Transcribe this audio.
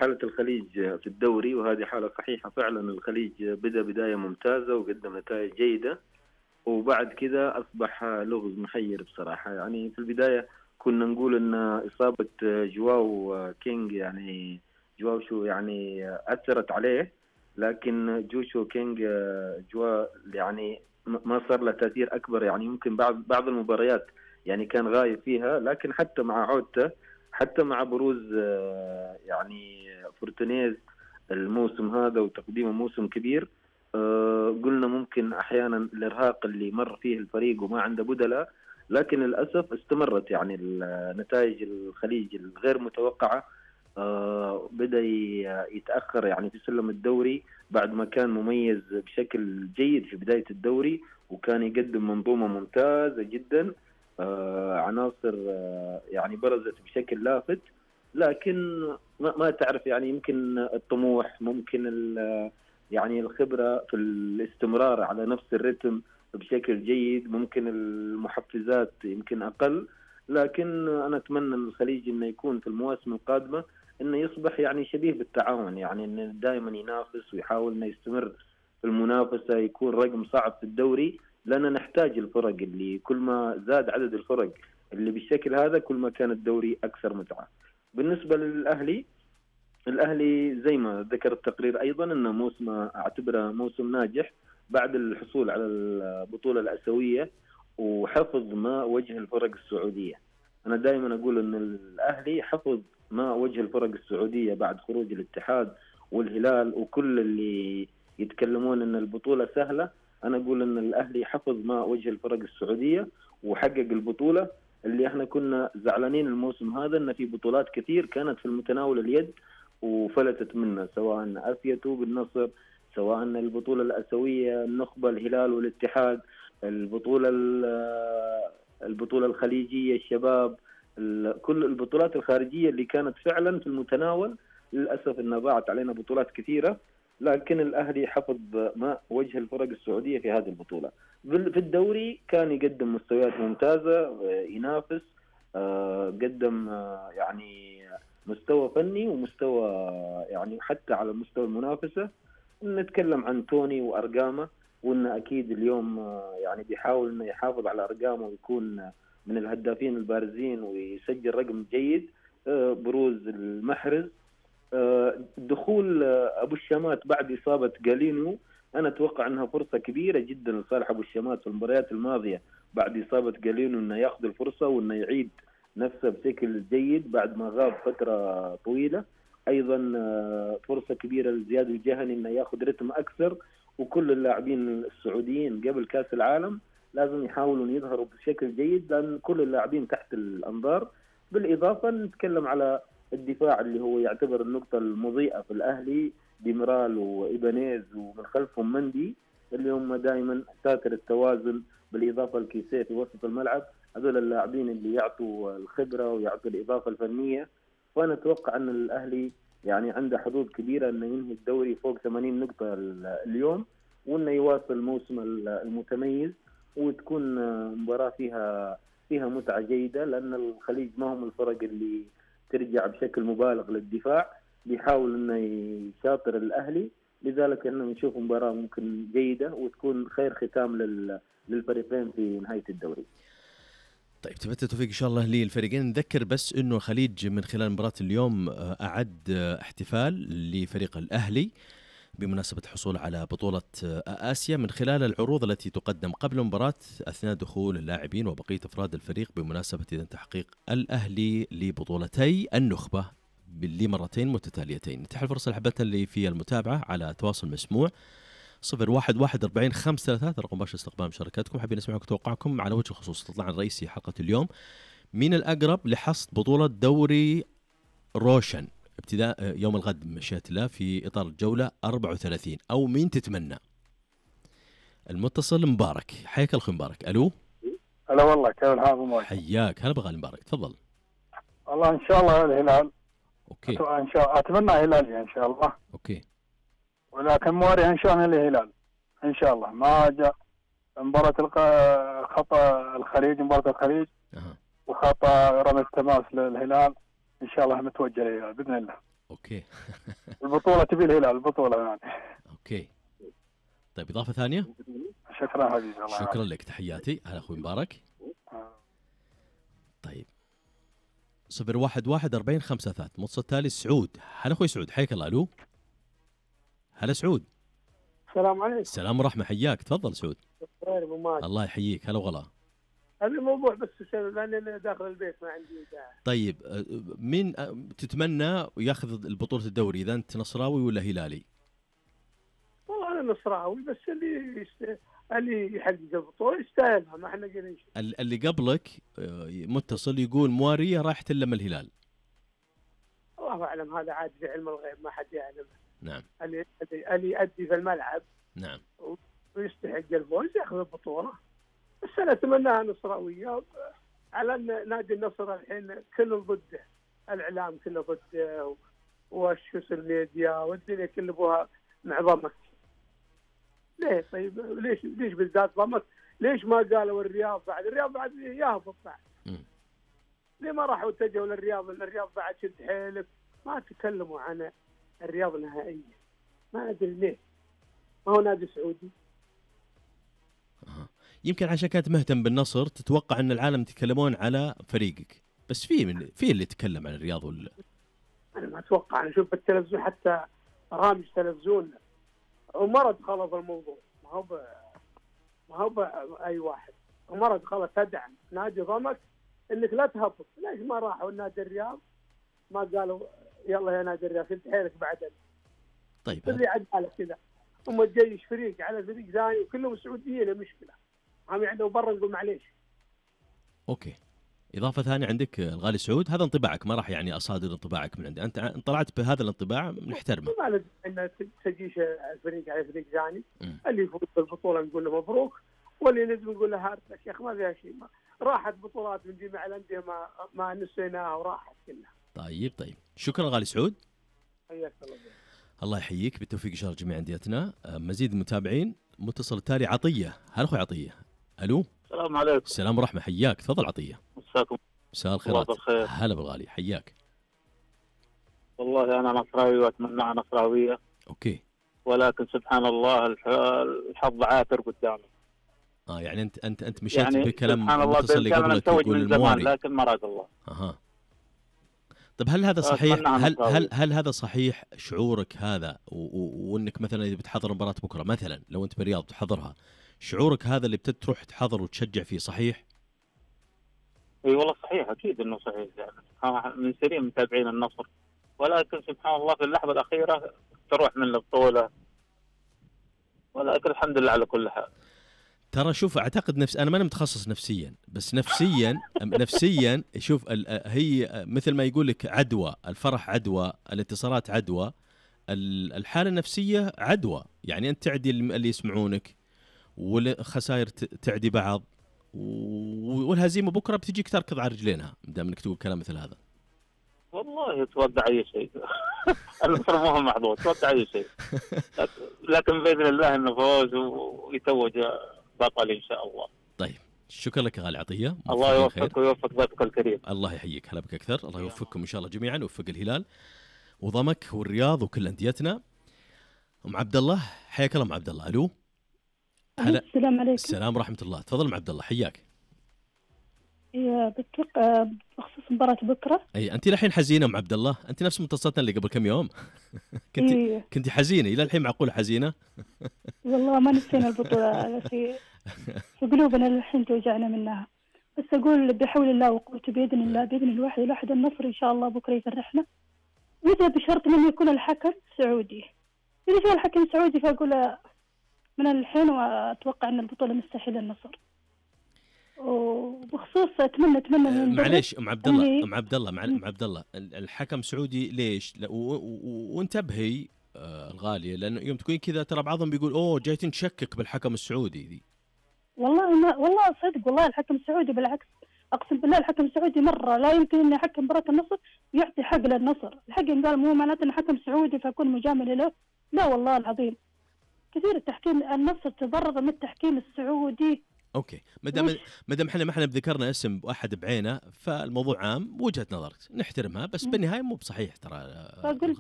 حالة الخليج في الدوري، وهذه حالة صحيحة فعلا. الخليج بدأ بداية ممتازة وقدم نتائج جيدة، وبعد كذا أصبح لغز محير بصراحة. يعني في البداية كنا نقول أن إصابة جواو كينج يعني جواو شو يعني أثرت عليه، لكن جوشو كينج جوا يعني ما صار له تأثير أكبر. يعني يمكن بعض المباريات يعني كان غايب فيها، لكن حتى مع عودته، حتى مع بروز يعني فورتونيز الموسم هذا وتقديمه موسم كبير، قلنا ممكن أحيانا الإرهاق اللي مر فيه الفريق وما عنده بدلاء، لكن للأسف استمرت يعني نتائج الخليج الغير متوقعة. بدأ يتأخر يعني في سلم الدوري بعد ما كان مميز بشكل جيد في بداية الدوري، وكان يقدم منظومة ممتازة جدا، عناصر يعني برزت بشكل لافت. لكن ما تعرف يعني يمكن الطموح، ممكن يعني الخبرة في الاستمرار على نفس الرتم بشكل جيد، ممكن المحفزات يمكن أقل. لكن أنا أتمنى أن الخليج إنه يكون في المواسم القادمة إنه يصبح يعني شبيه بالتعاون، يعني إنه دائما ينافس ويحاول إنه يستمر في المنافسة، يكون رقم صعب في الدوري، لأننا نحتاج الفرق اللي كل ما زاد عدد الفرق اللي بالشكل هذا كل ما كان الدوري أكثر متعة. بالنسبة للأهلي، الأهلي زي ما ذكر التقرير أيضا أنه موسم أعتبره موسم ناجح بعد الحصول على البطولة الآسيوية وحفظ ما وجه الفرق السعودية. أنا دائما أقول أن الأهلي حفظ ما وجه الفرق السعودية بعد خروج الاتحاد والهلال، وكل اللي يتكلمون أن البطولة سهلة، أنا أقول أن الأهلي حفظ ما وجه الفرق السعودية وحقق البطولة اللي احنا كنا زعلانين الموسم هذا أن في بطولات كثير كانت في المتناول اليد وفلتت منه، سواء أفيتو بالنصر، سواء البطولة الآسيوية النخبة الهلال والاتحاد، البطولة الخليجية الشباب، كل البطولات الخارجية اللي كانت فعلا في المتناول. للأسف أنها ضاعت علينا بطولات كثيرة، لكن الأهلي حفظ ما وجه الفرق السعودية في هذه البطولة. في الدوري كان يقدم مستويات ممتازة، ينافس، قدم يعني مستوى فني ومستوى يعني حتى على مستوى المنافسة. نتكلم عن توني وأرقامه، وإنه أكيد اليوم يعني بيحاول إنه يحافظ على أرقامه ويكون من الهدافين البارزين ويسجل رقم جيد. بروز المحرز، دخول أبو الشامات بعد إصابة جالينو، أنا أتوقع أنها فرصة كبيرة جدا لصالح أبو الشامات في المباريات الماضية بعد إصابة جالينو إنه يأخذ الفرصة وإنه يعيد نفسه بشكل جيد بعد ما غاب فترة طويلة. أيضا فرصة كبيرة لزياد الجهني إنه يأخذ رتم أكثر، وكل اللاعبين السعوديين قبل كأس العالم لازم يحاولون يظهروا بشكل جيد، لأن كل اللاعبين تحت الأنظار. بالإضافة نتكلم على الدفاع اللي هو يعتبر النقطة المضيئة في الأهلي، ديمرال وإيبانيز ومن خلفهم مندي اللي هم دائما ساتر التوازن، بالإضافة لكيسيه في وسط الملعب. هذول اللاعبين اللي يعطوا الخبرة ويعطوا الإضافة الفنية. فأنا أتوقع أن الأهلي يعني عنده حظوظ كبيرة أنه ينهي الدوري فوق 80 نقطة اليوم، وأنه يواصل الموسم المتميز، وتكون مباراة فيها متعة جيدة، لأن الخليج ما هم الفرق اللي ترجع بشكل مبالغ للدفاع، بيحاول أنه يشاطر الأهلي. لذلك أنه نشوف مباراة ممكن جيدة وتكون خير ختام للفريقين في نهاية الدوري. طيب تبت توفيق إن شاء الله للفريقين. نذكر بس إنه الخليج من خلال مباراة اليوم أعد احتفال لفريق الأهلي بمناسبة الحصول على بطولة آسيا من خلال العروض التي تقدم قبل المباراة أثناء دخول اللاعبين وبقية أفراد الفريق بمناسبة إذن تحقيق الأهلي لبطولتي النخبة لمرتين متتاليتين. نتيح الفرصة لحبتنا اللي في المتابعة على تواصل مسموع 01144533 رقم مباشر استقبال مشاركاتكم. حابين نسمعكم توقعكم على وجه الخصوص تطلع الرئيسي حلقة اليوم، مين الأقرب لحصد بطولة دوري روشن ابتداء يوم الغد بمشيئة الله في إطار الجولة 34، أو مين تتمنى؟ المتصل مبارك، حياك الأخ مبارك. ألو. هلا والله، كيف الحال مبارك؟ حياك، هلا بغالي مبارك، تفضل. والله إن شاء الله الهلال. أوكي. إن شاء أتمنى هلالي إن شاء الله. أوكي. ولكن موري إن شاء الله الهلال إن شاء الله. ما جاء مباراة خطأ الخليج، مباراة الخليج وخطأ رمي التماس للهلال، إن شاء الله متوجه للهلال بإذن الله. اوكي. البطولة تبي الهلال، البطولة يعني. اوكي طيب اضافه ثانيه. شكرا حبيبي، الله شكرا لك، تحياتي. هلا اخوي مبارك. طيب 011-40-53 متصل تالي سعود. هلا اخوي سعود، حياك الله. الو هلا سعود. السلام عليكم. السلام ورحمه، حياك. تفضل سعود. خير ابو ماجد. الله يحييك. هلا وغلا. هذا الموضوع بس لان انا داخل البيت ما عندي داعي. طيب مين تتمنى ياخذ البطوله الدوري، اذا انت نصراوي ولا هلالي؟ والله انا نصراوي، بس اللي يحقق البطوله يستاهلها، ما احنا قايلين شيء. اللي قبلك متصل يقول مواريه راح تلم الهلال. الله اعلم، هذا عاد في علم الغيب، ما حد يعلم. نعم. اللي يؤدي في الملعب نعم ويستحق الفوز ياخذ البطوله. بس انا اتمناها نصراويه، على ان نادي النصر الحين كله ضده، الاعلام كله ضده، والسوشيال ميديا والدنيا كله ابوها مع ضمك. ليه طيب؟ ليش بالذات ضمك؟ ليش ما قالوا الرياض بعد؟ الرياض بعد يهبط بعد. ليه ما راحوا اتجهوا للرياض؟ الرياض بعد شد حيلك، ما تكلموا عن الرياض نهائيا. ما ادري ليه، ما هو نادي سعودي. يمكن عشان كانت مهتم بالنصر تتوقع ان العالم يتكلمون على فريقك، بس في اللي يتكلم عن الرياض ولا؟ انا ما اتوقع. انا اشوف بالتلفزيون حتى برامج تلفزيون ومرض خلط الموضوع، ما هو اي واحد. ومرض خلط تدعم نادي ضمك انك لا تهبط. ليش ما راحوا نادي الرياض؟ ما قالوا يلا يا نادي الرياض شد حيلك بعدين. طيب اللي عداله كذا، هم تجيش فريق على فريق ثاني وكلهم سعوديين، مشكله. هم يعني برا نقول معليش. اوكي. اضافه ثانيه عندك الغالي سعود، هذا انطباعك، ما راح يعني اصادر انطباعك من عندي، انت طلعت بهذا الانطباع نحترمه. ما لازم ان تجيش الفريق على فريق ثاني. اللي يفوز بالبطوله نقول له مبروك، واللي نجم نقول له هارد. يا شيخ ما فيها شيء، راحت بطولات من جميع الانديه ما نسيناها وراحت كلها. طيب شكرا غالي سعود. حياك الله. الله يحييك، بالتوفيق ان شاء الله جميع انديتنا. مزيد المتابعين. متصل التالي عطيه. هلا اخوي عطيه. الو السلام عليكم. السلام ورحمه، حياك. تفضل عطيه. مساكم مساء الخيرات. بالخير. هلا بالغالي، حياك. والله انا نصراوي واتمناها نصراويه. اوكي. ولكن سبحان الله الحظ عاثر قدامي. يعني انت مشيت يعني بكلام سبحان الله المتصل اللي قبلك يقول من زمان، لكن ما راد الله. طب هل هذا صحيح؟ هل هذا صحيح شعورك هذا؟ وانك مثلا اذا بتحضر مباراه بكره مثلا، لو انت بالرياض تحضرها، شعورك هذا اللي بتروح تحضر وتشجع فيه صحيح؟ اي والله صحيح، اكيد انه صحيح. يعني من سنين متابعين النصر، ولكن سبحان الله في اللحظه الاخيره تروح من البطوله. ولكن الحمد لله على كل حال. ترى شوف، اعتقد انا ماني متخصص نفسيا، بس نفسيا شوف هي مثل ما يقول لك عدوى، الفرح عدوى، الانتصارات عدوى، الحاله النفسيه عدوى. يعني انت تعدي اللي يسمعونك، والخسائر تعدي بعض، والهزيمه بكره بتجيك تركض على رجلينها دام انك تقول كلام مثل هذا. والله توقع اي شيء. النصر مو هو محظوظ، توقع اي شيء. لكن باذن الله انه فوز ويتوج بطل ان شاء الله. طيب شكرا لك يا غالي عطيه. الله يوفقك ويوفق ضيفك الكريم. الله يحييك. هلا بك اكثر. الله يوفقكم ان شاء الله جميعا، ويوفق الهلال وضمك والرياض وكل انديتنا. ام عبد الله، حياك الله ام عبد الله. الو هلا. السلام عليكم. السلام ورحمه الله. تفضل ام عبد الله، حياك. بتوقع بخصوص مباراة بكرة. اي انت الحين حزينه ام عبد الله؟ انت نفس متصلتنا اللي قبل كم يوم. كنت حزينه الى الحين، معقوله حزينه؟ والله ما نسينا البطولة في قلوبنا الحين توجعنا منها. بس اقول بحول الله وقوته باذن الله، باذن الواحد النصر ان شاء الله بكره يفرحنا، واذا بشرط من يكون الحكم سعودي. اذا كان الحكم سعودي فاقول من الحين، واتوقع ان البطولة مستحيلة النصر. وبخصوص اتمنى معليش ام عبد الله، ام عبد الله الحكم سعودي ليش؟ وانتبهي الغاليه، لانه يوم تكون كذا ترى بعضهم بيقول جايتين تشكك بالحكم السعودي ذي. والله صدق، والله الحكم السعودي بالعكس، اقسم بالله الحكم السعودي مره لا يمكن ان يحكم مباراه النصر ويعطي حق للنصر. الحكم قال مو معناته ان حكم سعودي فاكون مجامل له، لا والله العظيم كثير التحكيم. النصر تضرر من التحكيم السعودي اوكي، ما دام احنا ما بذكرنا اسم واحد بعينه فالموضوع عام، وجهة نظرك نحترمها، بس بالنهايه مو بصحيح ترى. فاقول